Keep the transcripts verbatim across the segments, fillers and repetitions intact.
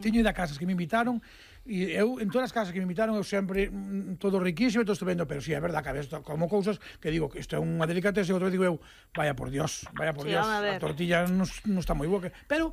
Teño ido a casas que me invitaron e eu, en todas as casas que me invitaron, eu sempre mm, todo riquísimo e todo estupendo, pero si sí, é verdad que a veces como cousas que digo que isto é unha delicatese e outra vez digo eu, vaya por Dios, vaya por Sí, Dios, a a tortilla non, non está moi boa, que... pero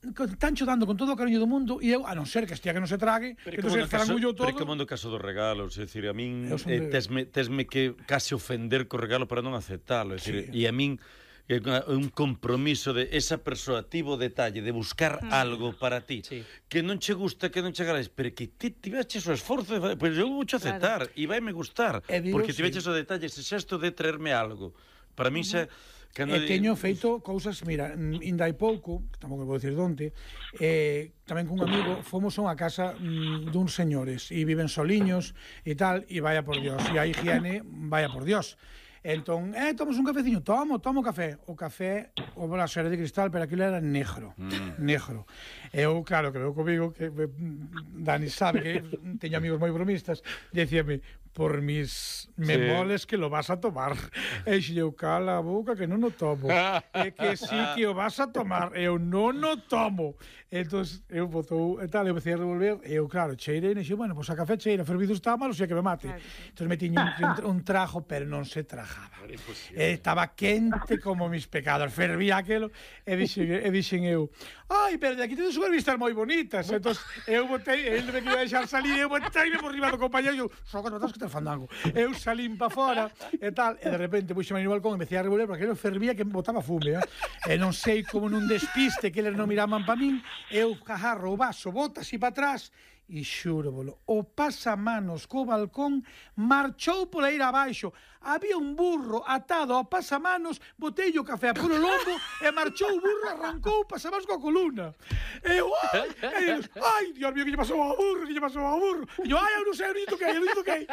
están dando con todo o cariño do mundo e eu, a non ser que estea que non se trague, pero que non se frangullo todo. Pero que mundo caso dos regalos, é dicir, a min de... eh, tesme, tesme que case ofender co regalo para non aceptalo, é dicir, e sí. a min é un compromiso de esa persoa tivo detalle de buscar mm. algo para ti sí. que non che gusta, que non che agradeces, pero que ti tiveches o esforzo de... Pois eu vou che aceptar, claro. e vai me gustar, digo, porque tiveches sí. o detalle, ese xesto de traerme algo. Para mí xa... E de... teño feito cousas, mira, inda hai pouco, tampouco vou dicir donde, eh, tamén cun amigo, fomos a unha casa mm, duns señores, e viven soliños e tal, e vaya por Dios, e a higiene, vaya por Dios. Entón, eh, tomas un cafeciño, tomo, tomo café. O café, o bolas era de cristal, pero aquilo era negro, mm. negro. Eu, claro, que veo comigo, que Dani sabe que teño amigos moi bromistas, decíame, por mis memoles sí. que lo vas a tomar. E eu, cala a boca que non o tomo. E que sí que o vas a tomar. Eu non o tomo. Entón, eu botou e tal, eu empecé a revolver, e eu, claro, cheirei, e dixo, bueno, pois pues a café cheira, fervido está mal, o sea que me mate. Claro, sí. Entón me tiño un, un trajo, pero non se trajaba. E estaba quente como mis pecados. Fervía aquelo, e dixen, e dixen eu, ai, pero de aquí tedes unhas vistas moi bonitas. Entón, eu botei, ele me quería deixar salir, eu botei por riba do compañero, e eu, só que notas que te fandango. Eu salín pa fora, e tal, e de repente puxeme no balcón, e empecé a revolver, porque aquilo fervía que me botaba fume, eh? E non sei como nun despiste que eles non miraban pa min, eu agarro o vaso, bota así pa atrás, e xúrovolo, o pasamanos co balcón marchou pola ira abaixo. Había un burro atado ao pasamanos, botei o café polo lombo e marchou o burro, arrancou o pasamanos coa columna. E eu, ai, e eu, ai, Dios mío, que lle pasou ao burro, que lle pasou ao burro. E eu, ai, eu non sei, eu non toquei, eu non toquei.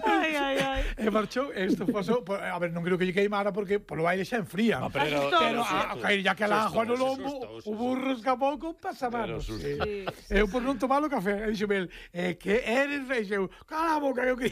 Ai, ai, ai. E marchou, isto pasou, a ver, non creo que lle queimara porque polo baile xa enfría. No, pero, pero a, a caer ya que la ajo no lombo, o burro escapou con pasamanos. Sí, sí. Eu por non tomar o café, e dixo el, eh, que eres rei, eu, cala a boca, eu que...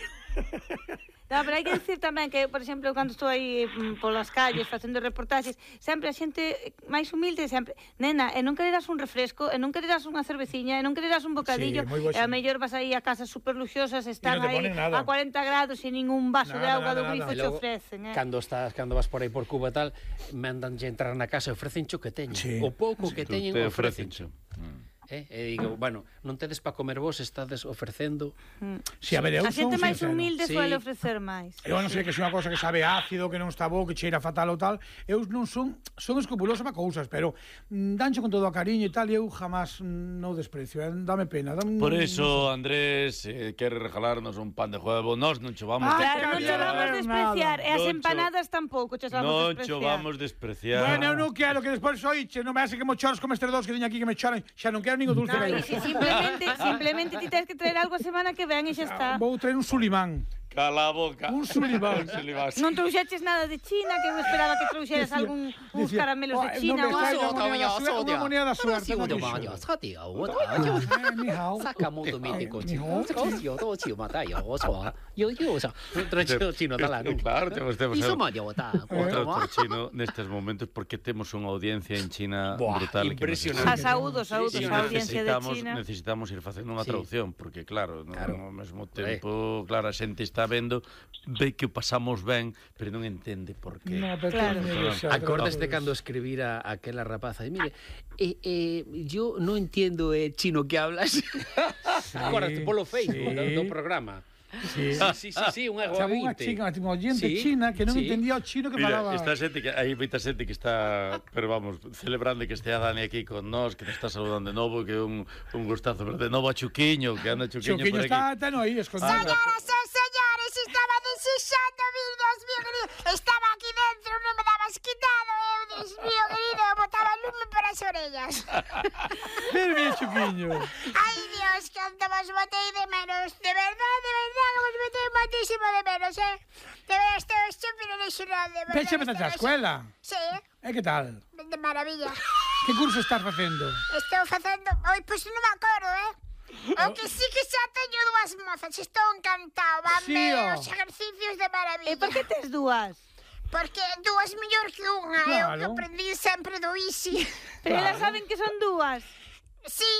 No, pero hai que decir tamén que, por exemplo, cando estou aí mm, polas calles facendo reportaxes, sempre a xente máis humilde, sempre, nena, e non quererás un refresco, e non quererás unha cerveciña, e non quererás un bocadillo, sí, e a mellor vas aí a casas super luxosas, están no aí a cuarenta grados e ningún vaso nada, de auga nada, do grifo te ofrecen, eh? Cando estás, cando vas por aí por Cuba e tal, mandanlle entrar na casa e ofrecen cho que teñen. Sí. O pouco que teñen ofrecen cho. Mm. Eh? E digo, bueno, non tedes para comer vos, estades ofrecendo. Mm. Si, a ver, eu a xente máis sincero. humilde Sí. suele ofrecer máis. Eu non sei que é unha cosa que sabe ácido, que non está bo, que cheira fatal ou tal. Eu non son son escrupuloso para cousas, pero mm, dancho con todo o cariño e tal, e eu jamás mm, non desprecio, eh? Dame pena. Dame, Por eso, no sé. Andrés, eh, quere regalarnos un pan de huevo, nós non cho vamos ah, Claro, non cho vamos despreciar, e as Non empanadas tampouco cho vamos Non despreciar. cho vamos despreciar. Bueno, eu non quero que despois oiche, non me hace que mo choros como estes dos que teño aquí que me choran, xa non quero ningún dulce. No, e si simplemente, simplemente ti tens que traer algo a semana que ven e xa está. Vou traer un sulimán. Cala a boca. Un sulimán. Non trouxeches nada de China, que eu esperaba que trouxeras algún uns caramelos de China ou algo. Unha moneda da suerte. Ni hao. Sakamoto mítico chino. Chino talán. Claro, temos temos. Outro chino nestes momentos porque temos unha audiencia en China brutal. Impresionante. A saúdo, saúdo, a audiencia de China. Necesitamos ir facendo unha traducción porque claro, ao mesmo tempo, claro, a xente está vendo, ve que o pasamos ben, pero non entende por qué. No, pero claro. Acordas de cando escribira aquela rapaza, e mire, eh, eh, yo no entiendo eh, chino que hablas. Sí, acordaste polo Facebook sí. do, do programa. Sí, sí, sí, sí, unha ointe. Unha chica, unha oyente sí, china que non sí. entendía o chino que Mira, falaba. Esta xente que hai moita xente que está, pero vamos, celebrando que estea Dani aquí con nós, que nos está saludando de novo, que é un, un gustazo ver de novo a Chuquiño, que anda Chuquiño, Chuquiño por aquí. Chuquiño está, está no aí escondido. Señoras e señores, estaba desexando vir, Dios mío querido. Estaba aquí dentro, non me dabas quitado, eu, Dios mío querido, botaba lume para as orellas. Ven, bien, Chuquiño. Ai, Dios, canto vos botei de menos. De verdade, de verdade, que vos botei moitísimo de menos, eh? De verdade, estou estúpido original, de verdade. Peche metas a escuela. Sí. E que tal? De maravilla. Que curso estás facendo? Estou facendo... Oi, pois non me acordo, eh? O que sí que xa teño dúas mozas, estou encantado, vanme Sí, oh. os exercicios de maravilla. E por que tes dúas? Porque dúas mellor que unha, Claro. eu que aprendí sempre do Easy. Pero Claro. elas saben que son dúas. Sí,